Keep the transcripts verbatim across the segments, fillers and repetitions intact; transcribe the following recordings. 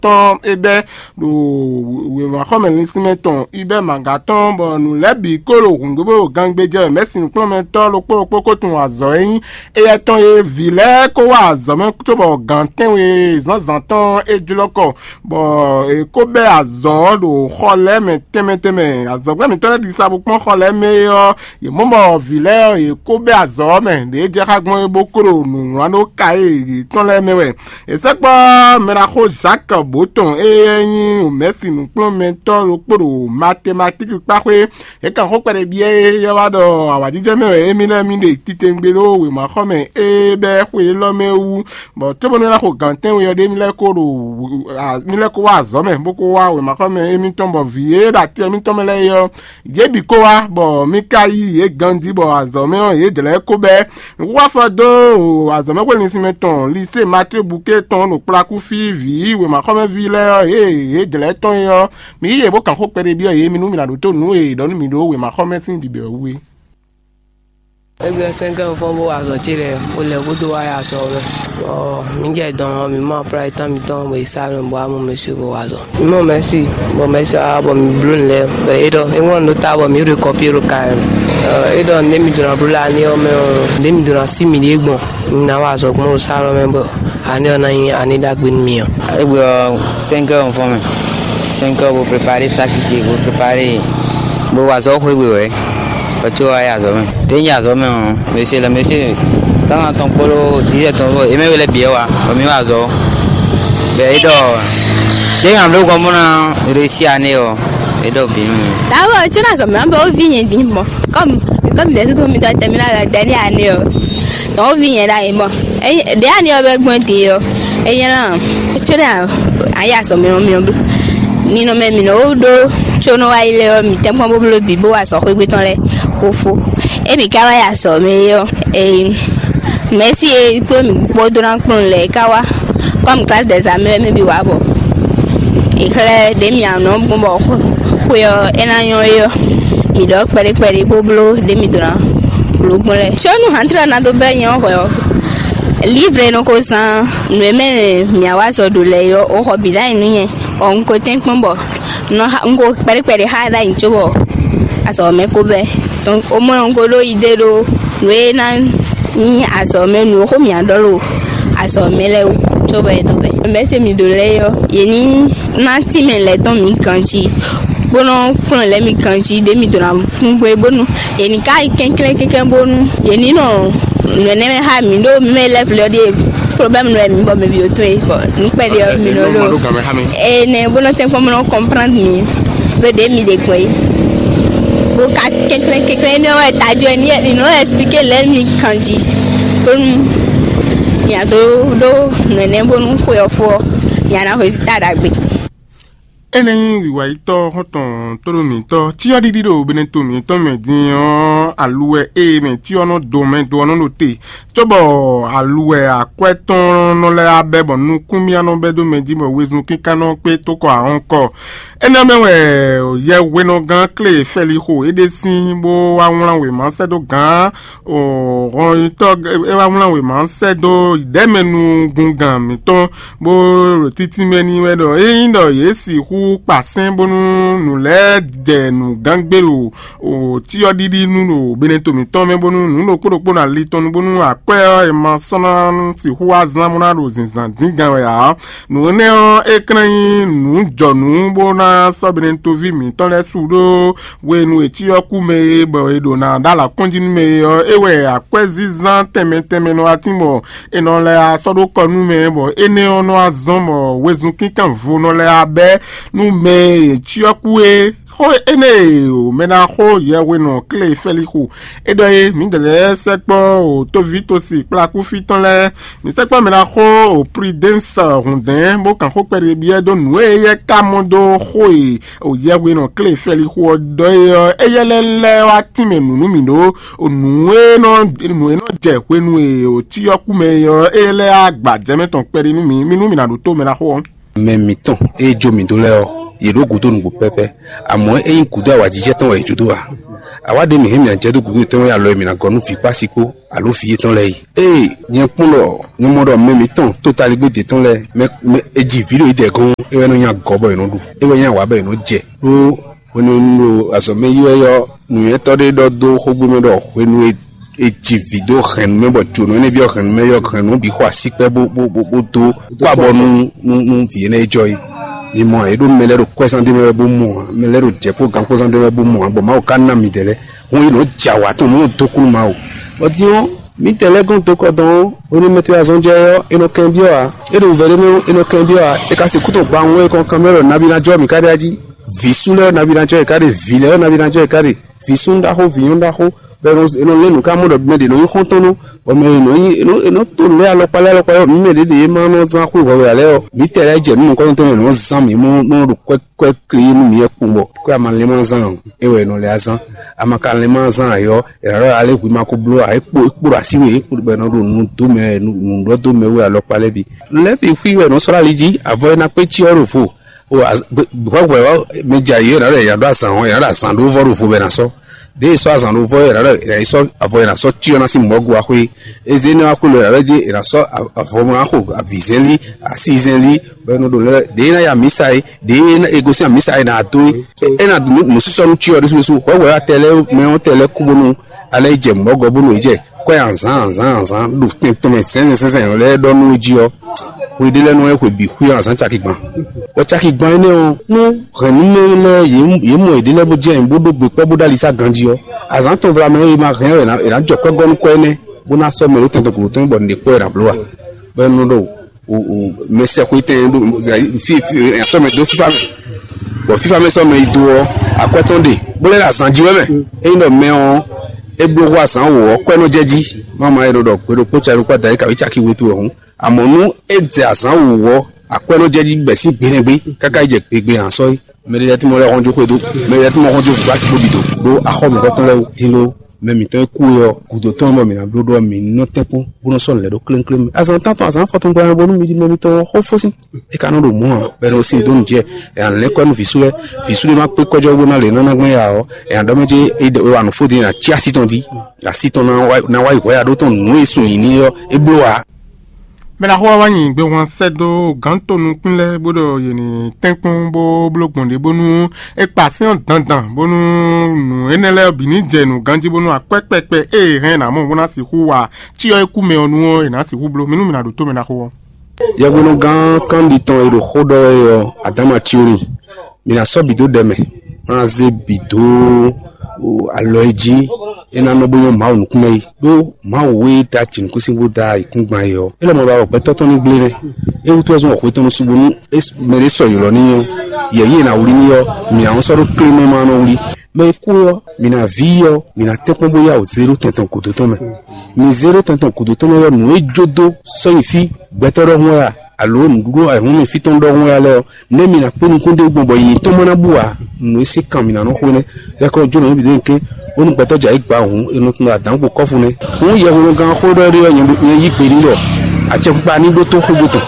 tɔn é bɛ́ ɖo wěmaxɔmɛ linsinmɛ tɔn Hubert Maga tɔn, bɔ nǔ lɛ́ɛ bǐ kó ɖo hǔngbégbé ɖo gangbé jɛ wɛ mɛ̌si nǔkplɔ́nmɛtɔ́ ɖokpó ɖokpó ko tunwun azɔ̌ e nyí éyɛ́ tɔn e vǐ lɛ́ɛ kó wá azɔ̌ mɛ cóbɔ gǎn tɛ́nwe zǎnzǎn tɔn é jlɔ́ kɔ, bɔ è kó bɛ́ azɔ̌ ɖo xɔ lɛ́ɛ mɛ tɛnmɛ tɛnmɛ. Azɔ̌gbɛ́ mǐtɔn lɛ́ɛ ɖi sa bó kpɔ́n xɔ lɛ́ɛ mɛ é ɔ́, yě mɔ bɔ vǐ lɛ́ɛ ɔ́, yě kó bɛ́ azɔ̌ ɔ́ mɛ, ɖě jɛ xá gbɔn é bó kó ɖo nǔ wlán ɖó ka e yětɔn lɛ́ɛ mɛ wɛ. È sɛkpɔ́ mɛɖaxó Jacques Botɔn e nyí mɛ̌si nǔkplɔ́nmɛtɔ́ ɖokpó ɖo matematíki kpáxwé. É kan xó kpɛɖé byɔ́ é yɛ wá ɖɔ awǎjijɛ mɛ wɛ émí lɛ́ɛ mì ɖe titewungbe ɖó wěmaxɔmɛ e bɛ́ xwe élɔ́ mɛ wú, bɔ cóbónú é ná xo gǎn tɛ́nwe ɔ́ ɖé mì lɛ́ kó ɖo mì lɛ́ kó wá azɔ̌ mɛ, bó kó wá wěmaxɔmɛ émítɔn, bɔ vǐ e ɖo atɛ émítɔn mɛ lɛ́ɛ é ɔ́, yě bǐ kó wá, bɔ mì ka yí yě ganjí, bɔ azɔ̌ mɛ ɔ́, yě jlɛ̌ kó bɛ́. Nǔxuxu afɔ dó azɔ̌mɛxwé linsinmɛ tɔn Lisée Matíe Buké tɔn ɖo kplakú fí vǐ wěmaxɔmɛví lɛ́ɛ ɔ́, yě yě jlɛ̌ tɔn é ɔ́, mi yí yě bó kan xó kpɛɖé byɔ́ yě mi nú mi ná ɖótó nǔ e è ɖɔ nú mi ɖó wěmaxɔmɛ sín bǐbɛ́ wú é. Égbé sɛ́nkɛ́ fɔ́n bó wa azɔ̌ ce lɛ́ɛ, bó lɛ́ bó dó wá ya sɔ ɔ́ mɛ. Bɔ mǐ jɛ dɔn ɔ́, mǐ mɔ plá etɔ́ mitɔn bɔ è sá nɔ bɔ amú mɛ su bó wa azɔ̌. Mǐ mɔ mɛ̌si, bɔ mɛ̌si ɔ́ wá bɔ mǐ bló nǔ lɛ́ɛ, bɔ é ɖɔ é ŋlɔ́ nǔ ɖó ta bɔ mǐ ɖo kɔpí ɖo ka ɛ. É ɖɔ nǔɖé mi ɖó ná bló lɛ aní ɔ́ mɛ ɔ́, nǔɖé mi ɖó ná sí mǐɖée gbɔn. Un ná wa azɔ̌ gbɔn ɖo sá lɔ mɛ bɔ aní ɔ́ ná nyí aní ɖagbe nú mi ɔ́. Égbé ɔ́, cinq heures un fɔ́n mɛ. Cinq heures bo préparé saki ce, bo préparé, bo wa azɔ̌ xwé gbe wɛ. Bɔ có wá yi azɔ̌ mɛ. Ɖě nyi azɔ̌ mɛ ɔ́, mɛsé lɛ mɛsé sánà tɔn kpódó dizɛ tɔn kpó, yě mɛ we lɛ́ bǐ wɛ wá, bɔ mǐ wa azɔ̌. Bɔ é ɖɔ ɖěe nǎ bló gbɔn bó ná réussi ané ɔ́, é ɖɔ bǐ nú mì. Dǎwe ɔ́, có ná azɔ̌ mǐ ná bɔ ó ví nyɛ din mɔ. Kɔmi kɔmi ɖě sútú mitɔn tɛ mí ná ɖɔ dɛ̌ ní ané ɔ́, tɔn ó ví nyɛ ɖ'ayǐ mɔ. Ɖě ané ɔ́ bɛ gbɔn din ɔ́, é nyɛ ná có ná ayé azɔ̌ mɛ ɔ́ mì ɔ́ bló. Ninɔmɛ mǐ nɔ ɖó có nɔ wá yi lɛ́ɛ ɔ́, mǐ tɛ́nkpɔ́n bó bló bǐ bó wa azɔ̌ xwé gbe tɔn lɛ́ɛ. Fofo. Emi ka wá yi azɔ̌ mɛ é ɔ́, ee, mɛ̌si e kplɔ́n mì kpódó ná kplɔ́n lɛ́ɛ ka wá. Kɔmi klasi dɛ̌ zǎn mɛ wɛ mɛ bǐ wá bɔ è xlɛ́ ɖě mì anɔ gbɔn bɔ xwe ɔ́ é ná nyɔ́ é ɔ́, mǐ ɖɔ kpɛɖé kpɛɖé bó bló ɖě mǐ dó ná bló gbɔn lɛ́ɛ. Có nú hantlɔ ná dó bɛ́ nyɛ ɔ́ hwɛ ɔ́, livre nɔ ko zán nǔ e mɛ mǐ wá zɔ ɖo lɛ́ɛ é ɔ́, ó xɔ bǐ ɖ'ayǐ nú nyɛ. Ɔ, un ko tɛ́nkpɔ́n bɔ un nɔ xa un ko kpɛɖé kpɛɖé xá ɖ'ayǐ cóbɔ azɔ̌ mɛ ko bɛ́. Donc au moins un ko ɖó idée ɖó nǔ e ná nyí azɔ̌ mɛ nǔ e xó mǐ ná ɖɔ ɖo azɔ̌ mɛ lɛ́ɛ wú cóbɔ é dó bɛ́. Mɛ̌ se mǐ ɖó lɛ́ɛ é ɔ́, yě ní ná tínmɛ lɛ̌ tɔn mǐ ganjí, bó nɔ́ kplɔ́n lɛ̌ mǐ ganjí ɖě mǐ ɖó ná kún gbé bónú yě ní ká yi kɛnklɛ́n kɛnklɛ́n bónú yě ní nɔ nǔ énɛ́ mɛ xá mǐ ɖó mǐ mɛ lɛ́ɛ vlɛ́ ɔ́ ɖíe problème nɔ wɛ mǐ bɔ mɛ bǐ ó tún é bɔ nǔ kpɛɖé ɔ́ mǐ nɔ ɖó énɛ́ bó nɔ tɛ́nkpɔ́n bó nɔ comprendre mǐ ɖó ɖě mǐ ɖe gbɔn é. Bó ka kɛnklɛ́n kɛnklɛ́n énɛ́ wɛ tají ɔ́ ní nɔ expliquer lɛ̌ mǐ kanjí bónú mǐ a dó ɖó nǔ énɛ́ bónú xwe ɔ́ fó ɔ́ mǐ a ná résultat ɖagbe. Énɛ́ nyí wǐwayítɔ́ xɔ́ntɔn tóɖó mǐtɔn cyɔ́ɖiɖi ɖo Beneto mǐtɔn mɛ din ɔ́, aluwɛ e mɛ cyɔ nɔ do mɛ do ɔ́ nɔ ɖo te, cóbɔ aluwɛ akwɛ́ tɔn nɔ lɛ́ abɛ bɔ nukúnmíá nɔ bɛ́ dó mɛ jí bɔ wezun kínkán nɔ kpé tókɔ ahɔ́nkɔ. Énɛ́ mɛ wɛ yɛhwenɔgán Klé Fɛlixo é ɖe sín bó wá wlán wěma sɛ́ dó gǎn hɔnyitɔ́ é wá wlán wěma sɛ́ dó ɖɛ̌mɛnugungán mǐtɔn bó ɖo títínmɛ n'i wɛ ɖɔ ényí ɖɔ yě sixú kpa sɛ́n bónú nǔ lɛ́ɛ jɛ nǔ gán gbé ɖo cyɔ́ɖiɖi nú ɖo Beneto mǐtɔn mɛ bónú nǔ ɖokpó ɖokpó ná li tɔn nu bónú akwɛ́ ɔ́ è ma sɔ́ ná sixú wá zán bó ná ɖo zǐnzán dín gán wɛ ǎ. Nǔ énɛ́ ɔ́, é ka ná nyí nǔjɔnǔ bó ná sɔ́ Beneto ví mǐtɔn lɛ́ɛ su ɖó hwenu e cyɔ kú mɛ e bɔ è ɖo ná ɖó alǎ kɔn jí nú mɛ é ɔ́, é wɛ akwɛ́zínzán tɛnmɛ tɛnmɛ nɔ wá tín bɔ è nɔ lɛ́ wá sɔ́ ɖó kɔ nú mɛ, bɔ énɛ́ ɔ́ nɔ wá zɔ́n bɔ wezun kínkánvo nɔ lɛ́ wá bɛ́ nú mɛ e cyɔ kú é. Xó énɛ́ e mɛ ná xó yɛhwenɔ Klé Fɛlixu é ɖɔ é, mǐdɛɛ lɛ́ɛ sɛkpɔ́ o tóví tosi kplakúfí tɔn lɛ́ɛ, mǐ sɛkpɔ́ mɛ ná xó o Prudɛ́nsɛ hǔndɛ́n bó kan xó kpɛɖé byɔ́ dó nǔ e éyɛ́ ka mɔ dó xó e o yɛhwenɔ Klé Fɛlixu ɔ́ ɖɔ é ɔ́, éyɛ́ lɛ́ lɛ́ wá tínmɛ nǔ nú mì ɖó o nǔ e nɔ nǔ e nɔ jɛ hwenu e o cyɔ kú mɛ é ɔ́, éyɛ́ lɛ́ wá gba jɛmɛ tɔn kpɛɖé nú mì, mì nú mì ná ɖótó mɛ ná xó ɔ́. Mɛ mǐtɔn e jó mǐ dó lɛ́ɛ ɔ́, yě ɖó gǔdo nǔgbó pɛ́pɛ́. Amɔ̌ é nyí gǔdo awǎjijɛ tɔn wɛ yě jó dó ǎ. Awǎ ɖé mǐ hɛn mǐ ná jɛ dó gǔdo yětɔn wɛ alɔ e mǐ ná gɔ́ nú vǐ kpó asi kpó alo vǐ yětɔn lɛ́ɛ yi. Ée nyɛ kpɔ́n ɖɔ nyɛ mɔ ɖɔ mɛ mǐtɔn totaligbé d'é tɔn lɛ́ɛ mɛ mɛ è ji vǐ ɖo yědɛɛ gɔ́n, é wɛ nɔ nyí agɔ̌ bɔ è nɔ ɖu, é wɛ nyí awǎ bɔ è nɔ jɛ ɖó hwenu e un ɖo azɔ̌ mɛ yi wɛ ɔ́, nǔnywɛ́tɔ́ ɖé ɖɔ dó xógbó mɛ ɖɔ hwenu e è ji vǐ dó hɛ̌nnu mɛ bɔ jǒnɔ énɛ́ byɔ́ hɛ̌nnu mɛ ɔ́, hɛ̌nnu bǐ xɔ asíkpɛ́ bó bó bó bó dó kó abɔ nú nú nú vǐ énɛ́ e jɔ é. Mi mɔ ǎ, é ɖó mɛ lɛ́ɛ ɖo kwɛ́zán ɖé mɛ wɛ bó mɔ ǎ, mɛ lɛ́ɛ ɖo jɛ̌ kpó gan kpó zán ɖé mɛ wɛ bó mɔ ǎ, bɔ Mawu ka ná midɛɛ lɛ́ɛ hɔn yi nɔ jɛ awǎ tɔn nú dó kú nú Mawu. Bɔ din ɔ́, mǐtɛɛ lɛ́ɛ gɔ́n dǒ kɔ dɔn ɔ́, hwenu e mɛ towe azɔn jɛ é ɔ́, è nɔ kɛn byɔ́ ǎ. É ɖo wǔvɛ́ ɖé mɛ ɔ́, è nɔ kɛn byɔ́ ǎ. É ka sixú tɔn gba wún é kɔn kanbyɔ́ ɖɔ nabí ná jɔ mǐ ká ɖe jí. Vǐ sú lɛ́ɛ ɔ́, nabí ná jɔ yě ká ɖe; vǐ lɛ́ɛ ɔ́, nabí ná jɔ yě ká ɖe. Vǐ súnnu ɖaxó, vǐ nyɔ́nu ɖaxó, bɔ è nɔ è nɔ lɛ́ nǔ ká mɔ ɖɔ mɛ ɖě nɔ nyí xɔ́ntɔn nú, bɔ mɛ ɖě nɔ nyí è nɔ è nɔ to nǔ lɛ́ɛ alɔkpa lɛ́ɛ alɔkpa lɛ́ɛ, mǐ mɛ ɖě ɖě e ma nɔ zán xwé hwɛhwɛ ǎ lɛ́ɛ ɔ́, mǐtɛɛ lɛ́ɛ jɛ nǔ nukɔntɔn e è nɔ zán mǐ mɔ nɔ ɖo kwɛ́ kwɛ́ kle nú mǐ wɛ kpowun bɔ kwɛ́ a ma lɛ́n ma zán ǎ, é wɛ è nɔ lɛ́ zán. A ma ka lɛ́n ma zán ǎ ɔ́, è nǎ ɖɔ alé hwi ma ko bló ǎ, é kpo é kpo ɖo así we, é kpo bɔ è nɔ ɖo nǔ dó mɛ wɛ, nǔ nǔ ɖɔ dó mɛ wɛ alɔkpa lɛ́ɛ bǐ. Nǔ lɛ́ɛ bǐ xwí wɛ è nɔ sɔ́ ɖo ali jí, avɔ e ná kpé cyɔ ɖo vo. O hwɛhwɛ ɔ́, mɛ jɛ ayǐ ɔ́, è nǎ ɖɔ è nǎ ɖó azǎn ɔ́, è nǎ ɖo azǎn ɖó vɔ ɖo vo bɔ è nǎ sɔ́. Ɖěe è sɔ́ azǎn ɖó vɔ é, è nǎ ɖɔ è nǎ yi sɔ́ avɔ è nǎ sɔ́ cyɔ ná sín mɔ̌ go wá xwé. Eze énɛ́ wá xwé lɔ è nǎ ɖɔ jí è nǎ sɔ́ avɔ mɛ wá xo avǐzɛ́nlí, asízɛ́nlí, bɔ é nɔ ɖo lɛ́ ɖěe é ná yi amǐsa é, ɖěe é gosín amǐsa é ná dó é. É ná ɖu nǔsísɔ́ nú cyɔ ɖésú ɖésú. Hwɛhwɛ ɔ́, atɛ lɛ́ɛ mɛ ɔ́ tɛ lɛ́ kú bónú alɛ yi jɛ mɔ̌ gɔ bónú è jɛ kwɛ́ azǎn azǎn azǎn ɖo tɛn tɔn mɛ zɛ̌nzɛ̌n zɛ̌nzɛ̌n lɔ lɛ́ɛ ɖɔ nú é jí ɔ́, hwe ɖé lɛ́ɛ nɔ wɛ hwe bǐ xwí azǎn caki gban. Bɔ caki gban énɛ́ ɔ́, nú hɛ̌nnumɛ lɛ́ɛ yě yě mɔ yěɖée lɛ́ɛ bó jɛ ayǐ bó ɖó gbe kpɔ́ bó ɖó ali sá ganjí ɔ́, azǎn tɔn vlamɛ e ma hɛn ɔ́, è nǎ jɔ kwɛ́ gɔ́ nú kwɛ́ énɛ́, bó ná sɔ́ mɛ ɖó tɛn tɔn gǔdo tɔn bɔ nǔɖé kpɔ́ è nǎ bló ǎ. Bɔ é nɔ ɖo mɛsɛxwé tɛn ɖo fi fi sɔ́ mɛ dó fífá mɛ, bɔ fífá mɛ sɔ́ mɛ yi do ɔ́, akwɛ́ tɔn ɖe bó lɛ́ ɖo azǎn jí wɛ mɛ. Ényí ɖɔ mɛ ɔ́, é bló hú azǎn wǒ ɔ́, kwɛ́ nɔ jɛ jí. Má ma e nɔ ɖɔ gbe ɖokpó cɛ ɖokpó adaɖé kaví caki we to wɛ hǔn. Amɔ̌ nú é jɛ azǎn wǒ ɔ́, akwɛ́ nɔ jɛ jí bɛ̌ sín gbe nɛgbé káká yi jɛ gbegbe hǎn sɔ́ é. Mɛ ɖé lɛ́ɛ tí mɔ lɛ́ hɔn jó xwedó, mɛ ɖé lɛ́ɛ tí mɔ hɔn jó vǐvásí bó bǐ dó, ɖó axɔ́ mǐtɔn tɔn lɛ́ɛ wú dín ɖó mɛ mǐtɔn e kú é ɔ́ gǔdo tɔn bɔ mǐ ná bló ɖó ɔ́, mǐ ní nɔ tɛ́nkpɔ́n bó nɔ sɔ́ nǔ lɛ́ɛ ɖó klénklémɛ. Azǎn tántɔn azǎn afɔtɔn gbla bónú mi ɖi mɛ mitɔn ɔ́ xó fó sín. É ka nɔ ɖo mɔ̌ ǎ, bɔ è nɔ sin dó nǔ jɛ, è nǎ lɛ́n kɔ́ nú vǐ sú lɛ́ɛ. Vǐ sú ɖé má kpé kɔ́jɔ́ bó ná lě nɔ ná gbɛn ya ɔ́, è nǎ ɖɔ mɛ jɛ é wa nǔ fó din è nǎ cí así tɔn jí. Así tɔn ná wá ná wá yi hwɛ̌ ya ɖó tɔn nǔ e sun yǐ n'i ɔ́, é bló ǎ. Mɛ ɖaxó ɔ́ wá nyi gbehwan sɛ́ dó gǎn to nukún lɛ́ɛ bó ɖɔ yě ní tɛ́nkpɔ́n bó bló gbɔn ɖě bónú é kpa sɛ́n ɔ́ dandan bónú nǔ énɛ́ lɛ́ɛ bǐ ní jɛ nǔ ganjí bónú akwɛ́ kpɛkpɛ e è hɛn ná mɔ bó ná sixú wa cyɔ e kú mɛ ɔ́ nu ɔ́, è nǎ sixú bló. Mi nú mi ná ɖo tó mɛ ɖaxó ɔ́. Yɛhwenugán kanɖi tɔn e ɖo xó ɖɔ wɛ ɔ́, Adama Tioni, mi ná sɔ́ bǐ dó ɖɛ mɛ, má zé bǐ dó alɔ e jí é ná nɔ bó nyɔ́ Mawu nukún mɛ yi. Ɖó Mawu e da jǐnukúnsin bó da ayǐkúngban é ɔ́, é lɔ mɔ ba wɔ gbɛtɔ́ tɔn ní gblé nɛ́. É wútu wɛ zɔn wɔ xwe tɔn nɔ su bónú mɛ ɖé sɔ ylɔ́ n'i ɔ́, yɛ̌yi e è nǎ wlí n'i ɔ́, mǐ ǎ sɔ́ ɖó klé mɛ ma nɔ wlí. Mɛ e kú ɔ́, mǐ ná ví i ɔ́, mǐ ná tɛ́nkpɔ́n bó yá wǔ zé ɖó tɛn tɔn gǔdo tɔn mɛ. Mi zé ɖó tɛn tɔn gǔdo tɔn mɛ ɔ́, nǔ e jó dó sɔ́ nyi fí gbɛtɔ́ ɖɔhun wɛ a, alo nǔɖuɖu ayǐhɔ́ngbe fí tɔn ɖɔhun wɛ a lɛ́ɛ ɔ́, nɛ̌ mi ná kpé nukún dó gbɔn bɔ yiyi tɔn ma ná bú ǎ? Nǔ e sín kan mǐ ná nɔ xo énɛ́. Yɛkɔ jó nǔ bǐ dó nyi kɛ́n, bónú gbɛtɔ́ jɛ ayǐ gba hǔn, è nɔ tunwun adǎn kpo kɔ́fu nɛ́. Hǔn yɛhwenugan xó ɖɔ ɖé ɔ́, nyɛ ɖo- nyɛ yí gbe n'i ɖɔ acɛkpikpa ní ɖótó xógbó tɔn.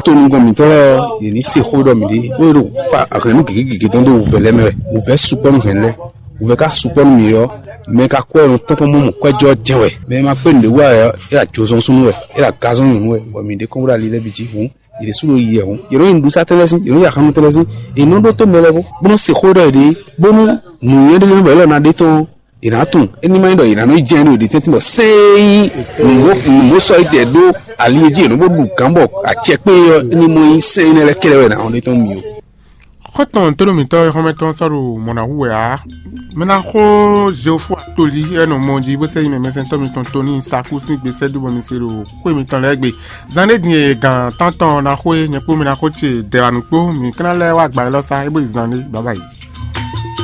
To nukɔn mǐtɔn lɛ́ɛ ɔ́, yě ní se xó ɖɔ mǐ ɖe, bó e ɖo fa hɛ̌nnu gěgé gěgé tɔn dó wǔvɛ́ lɛ́ɛ mɛ wɛ. Wǔvɛ́ sukpɔ́ nú hɛ̌nnu lɛ́ɛ. Wǔvɛ́ ka sukpɔ́ nú mǐ ɔ́, mɛ ka kɔ ɛ nɔ tɔ́n kpɔ́n mɔ kwɛ́jɔ jɛ́n wɛ. Mɛ e ma kpé nǔɖé wa wɛ ɔ́, é ɖo ajozɔ́n súnnu wɛ, é ɖo agazɔ́n nyɔ̌nu wɛ, bɔ mǐ ɖe kɔn bó ɖo ali lɛ́ɛ bǐ jí hǔn, yě ɖésú ɖo yi wɛ hǔn. Yě nɔ nyi nǔɖuɖusatɛn lɛ́ɛ sín, yě nɔ nyi axannutɛn lɛ́ɛ sín, yě nɔ ɖótó mɛ lɛ́ɛ bó, bó nɔ se xó ɖɔ yěɖée, bónú nǔnywɛ́ ɖé lɛ́ɛ bɔ yě lɔ ná ɖe tɔn ɔ́, yě ná tunwun. É ní ma nyí ɖɔ yě ná nɔ yi jɛ́n ɖo yěɖée tɛ́ntin bɔ sɛ́n e nyí nǔgbó nǔgbó sɔ́ yi tɛ ɖó ali e jí yě nɔ bó ɖu gǎn bɔ acɛ kpé ɔ́, é ní mɔ nyí sɛ́n énɛ́ lɛ́ɛ kɛ́ɖɛ́ wɛ è nǎ nɔ ɖe tɔn mǐ ó. Xɔ́ntɔn tónúmítɔ́ e xɔ́mɛtɔn sɔ́ ɖo mɔ̌ ná hu wɛ ǎ. Mɛ ná xó Zeofu Atoli e nɔ mɔ jí bó sɛ́ yi mɛ mɛsɛntɔ́ mitɔn Toni Saku sín gbe sɛ́ dó bɔ mi se ɖo xwé mitɔn lɛ́ɛ gbe. Zan ɖé din e gǎn tántɔn ná xó é, nyɛ kpó mi ná xó ce dɛ̌wanu kpó, mǐ ka ná lɛ́ wá gba élɔ́ sá é bó yi zan ɖé. Baba yi.